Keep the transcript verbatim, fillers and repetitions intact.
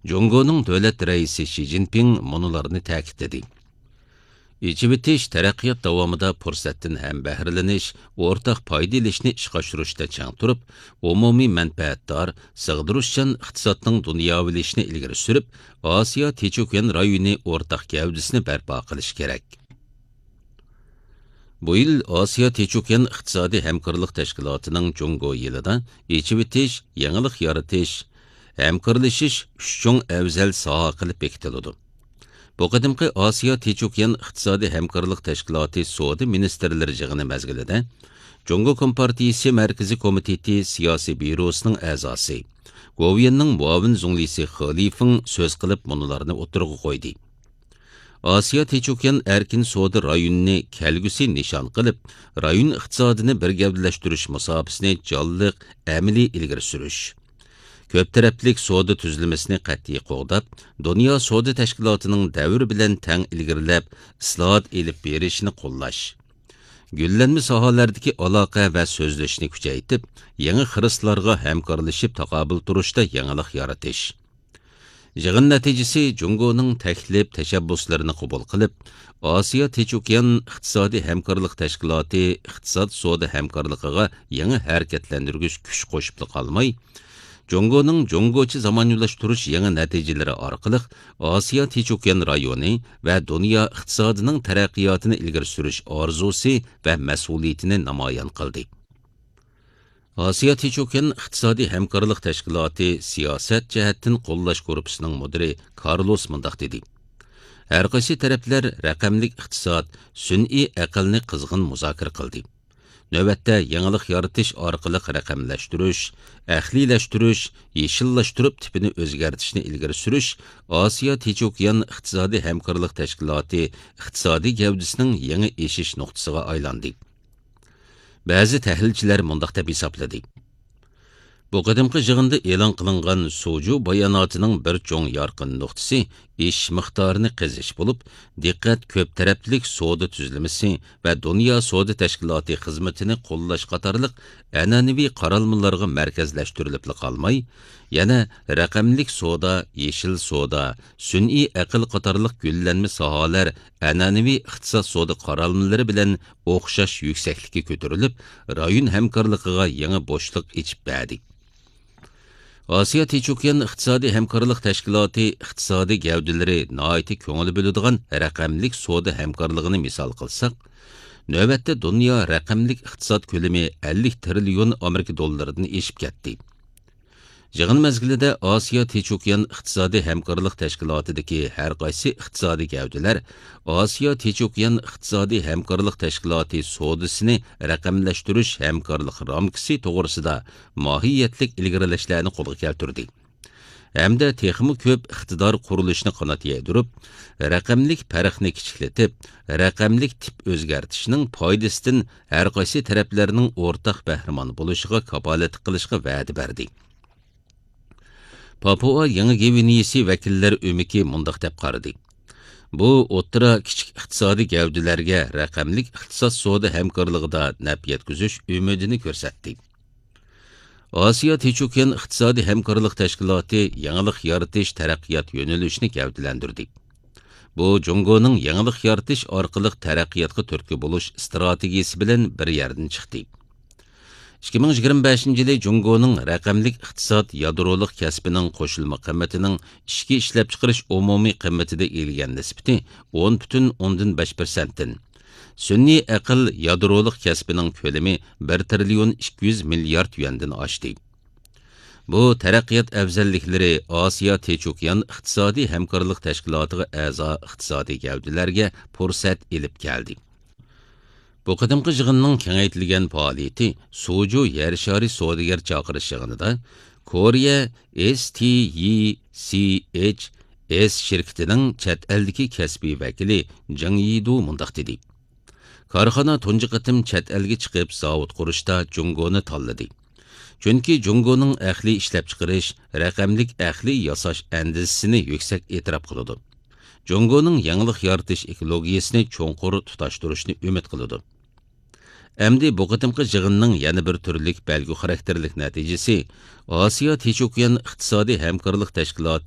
جۇڭگونىڭ دۆلەت رەئىسى شى جىنپىڭ مۇنۇلارنى تەكىتلىدى: ئېچىۋېتىش تەرەققىيات داۋامىدا پۇرسەتتىن ھەمبەھرىلىنىش، ئورتاق پايدا ئېلىشنى ئىشقا ئاشۇرۇشتا چىڭ تۇرۇپ، ئومۇمىي مەنپەئەتدار، سىغدۇرۇشچان ئىقتىسادنىڭ دۇنياۋىلىشىشىنى ئىلگىرى سۈرۈپ، ئاسىيا تىنچ ئوكيان رايونى ئورتاق گەۋدىسىنى بەرپا قىلىش كېرەك. بۇ يىل ئاسىيا تىنچ ئوكيان ئىقتىسادىي ھەمكارلىق تەشكىلاتىنىڭ جۇڭگو يىلىدا ئېچىۋېتىش، يېڭىلىق يارىتىش، ھەمكارلىشىش ئۈچ چوڭ ئەۋزەل ساھە قىلىپ بېكىتىلىدۇ. بۇ قېتىمقى ئاسىيا تىنچ ئوكيان ئىقتىسادىي ھەمكارلىق تەشكىلاتى سودا مىنىستىرلىرى يىغىنى مەزگىلىدە جۇڭگو كومپارتىيىسى مەركىزىي كومىتېتى سىياسىي بيۇروسىنىڭ ئەزاسى، گوۋۇيۈەننىڭ مۇئاۋىن زۇڭلىسى خې لىفېڭ سۆز قىلىپ مۇنۇلارنى ئوتتۇرىغا قويدى. ئاسىيا تىنچ ئوكيان ئەركىن سودا رايونىنى كەلگۈسى نىشان قىلىپ، رايون ئىقتىسادىنى بىر گەۋدىلەشتۈرۈش مۇساپىسىنى جانلىق، ئەمەلىي ئىلگىرى سۈرۈش، كۆپ تەرەپلىك سودا تۈزۈلمىسىنى قەتئىي قوغداپ، دۇنيا سودا تەشكىلاتىنىڭ دەۋر بىلەن تەڭ ئىلگىرىلەپ، ئىسلاھات ئېلىپ بېرىشىنى قوللاش، گۈللەنمە ساھەلەردىكى ئالاقە ۋە سۆزلەشنى كۈچەيتىپ، يېڭى خىرىسلارغا ھەمكارلىشىپ تاقابىل تۇرۇشتا يېڭىلىق يارىتىش. يىغىن نەتىجىسى جۇڭگونىڭ تەكلىپ، تەشەببۇسلىرىنى قوبۇل قىلىپ، ئاسىيا تىنچ ئوكيان ئىقتىسادىي ھەمكارلىق تەشكىلاتى ئىقتىساد سودا ھەمكارلىقىغا يېڭى ھەرىكەتلەندۈرگۈچ كۈچ قوشۇپلا قالماي، جۇڭگونىڭ جۇڭگوچە زامانىۋىلاشتۇرۇش يېڭى نەتىجىلىرى ئارقىلىق ئاسىيا تىنچ ئوكيان رايونى ۋە دۇنيا ئىقتىسادىنىڭ تەرەققىياتىنى ئىلگىرى سۈرۈش ئارزۇسى ۋە مەسئۇلىيىتىنى نامايان قىلدى. ئاسىيا تىنچ ئوكيان ئىقتىسادىي ھەمكارلىق تەشكىلاتى سىياسەت جەھەتتىن قوللاش گۇرۇپپىسىنىڭ مۇدىرى كارلوس مۇنداق دېدى: ھەرقايسى تەرەپلەر رەقەملىك ئىقتىساد، سۈنئىي ئەقىلنى قىزغىن مۇزاكىرە قىلدى. نۆۋەتتە يېڭىلىق يارىتىش ئارقىلىق رەقەملەشتۈرۈش، ئەقلىيلەشتۈرۈش، يېشىللاشتۇرۇپ تىپىنى ئۆزگەرتىشنى ئىلگىرى سۈرۈش ئاسىيا تىنچ ئوكيان ئىقتىسادىي ھەمكارلىق تەشكىلاتى ئىقتىسادىي گەۋدىسىنىڭ يېڭى ئېشىش نۇقتىسىغا ئايلاندى. بەزى تەھلىلچىلەر مۇنداق دەپ ھېسابلىدى: بۇ قېتىمقى يىغىندا ئېلان قىلىنغان سۇجۇ باياناتىنىڭ بىر چوڭ يارقىن نۇقتىسى ئېشىش مىقدارىنى قېزىش بولۇپ، دىققەت كۆپ تەرەپلىك سودا تۈزۈلمىسى ۋە دۇنيا سودا تەشكىلاتى خىزمىتىنى قوللاش قاتارلىق ئەنئەنىۋى قارالمىلارغا مەركەزلەشتۈرۈلۈپلا قالماي، يەنە رەقەملىك سودا، يېشىل سودا، سۈنئىي ئەقىل قاتارلىق گۈللەنمە ساھەلەر ئەنئەنىۋى ئىقتىساد سودا قارالمىلىرى بىلەن ئوخشاش يۈكسەكلىككە كۆتۈرۈلۈپ، رايون ھەمكارلىقىغا يېڭى بوشلۇق ئېچىپ بەردى. ئاسىيا تىنچ ئوكيان ئىقتىسادىي ھەمكارلىق تەشكىلاتى ئىقتىسادىي گەۋدىلىرى ناھايىتى كۆڭۈل بۆلىدىغان رەقەملىك سودا ھەمكارلىقىنى مىسال قىلساق، نۆۋەتتە دۇنيا رەقەملىك ئىقتىساد كۆلىمى ئەللىك تىرىليون ئامېرىكا دوللىرىدىن ئېشىپ كەتتى. يىغىن مەزگىلىدە ئاسىيا تىنچ ئوكيان ئىقتىسادىي ھەمكارلىق تەشكىلاتىدىكى ھەر قايسى ئىقتىسادىي گەۋدىلەر ئاسىيا تىنچ ئوكيان ئىقتىسادىي ھەمكارلىق تەشكىلاتى سودىسىنى رەقەملەشتۈرۈش ھەمكارلىق رامكىسى توغرىسىدا ماھىيەتلىك ئىلگىرىلەشلەرنى قولغا كەلتۈردى ھەمدە تېخىمۇ كۆپ ئىقتىدار قۇرۇلۇشىنى قانات يايدۇرۇپ، رەقەملىك پەرقنى كىچىكلىتىپ، رەقەملىك تىپ ئۆزگەرتىشنىڭ پايدىسىدىن ھەر قايسى تەرەپلەرنىڭ ئورتاق بەھرىمەن بولۇشىغا كاپالەتلىك قىلىشقا ۋەدە بەردى. پاپۇئا يېڭى گۋىنېيىسى ۋەكىللەر ئۆمىكى مۇنداق دەپ قارىدى: بۇ ئوتتۇرا، كىچىك ئىقتىسادىي گەۋدىلەرگە رەقەملىك ئىقتىساد سودا ھەمكارلىقىدا نەپ يەتكۈزۈش ئۈمىدىنى كۆرسەتتى. ئاسىيا تىنچ ئوكيان ئىقتىسادىي ھەمكارلىق تەشكىلاتى يېڭىلىق يارىتىش تەرەققىيات يۆنىلىشىنى گەۋدىلەندۈردى. بۇ جۇڭگونىڭ يېڭىلىق يارىتىش ئارقىلىق تەرەققىياتقا تۈرتكە بولۇش ئىستراتېگىيىسى بىلەن بىر يەردىن چىقتى. ئىككى مىڭ يىگىرمە بەشىنچى يىلى جۇڭگونىڭ رەقەملىك ئىقتىساد يادرولۇق كەسپىنىڭ قوشۇلما قىممىتىنىڭ ئىچكى ئىشلەپچىقىرىش ئومۇمىي قىممىتىدە ئىگىلىگەن نىسبىتى ئون پۈتۈن ئوندىن بەش پىرسەنتتىن، سۈنئىي ئەقىل يادرولۇق كەسپىنىڭ كۆلىمى بىر تىرىليون ئىككى يۈز مىليارد يۈەندىن ئاشتى. بۇ تەرەققىيات ئەۋزەللىكلىرى ئاسىيا تىنچ ئوكيان ئىقتىسادىي ھەمكارلىق تەشكىلاتىغا ئەزا ئىقتىسادىي گەۋدىلەرگە پۇرسەت ئېلىپ كەلدى. بۇ قېتىمقى يىغىننىڭ كېڭەيتىلگەن پائالىيىتى سۇجۇ يەر شارى سودىگەر چاقىرىش يىغىنىدا كورېيە ئېس تى يى سى ئېچ ئېس شىركىتىنىڭ چەت ئەلدىكى كەسپىي ۋەكىلى جېڭ يىدۇ مۇنداق دېدى: كارخانا تۇنجى قېتىم چەت ئەلگە چىقىپ زاۋۇت قۇرۇشتا جۇڭگونى تاللىدى. چۈنكى جۇڭگونىڭ ئەقلىي ئىشلەپچىقىرىش، رەقەملىك ئەقلىي ياساش ئەندىزىسىنى يۈكسەك ئېتىراپ قىلىدۇ. جۇڭگونىڭ يېڭىلىق يارىتىش ئېكولوگىيىسىنى چوڭقۇر تۇتاشتۇرۇشنى ئۈمىد قىلىدۇ. ئەمدى بۇ قېتىمقى يىغىننىڭ يەنە بىر تۈرلۈك بەلگە خاراكتېرلىك نەتىجىسى ئاسىيا تىنچ ئوكيان ئىقتىسادىي ھەمكارلىق تەشكىلاتى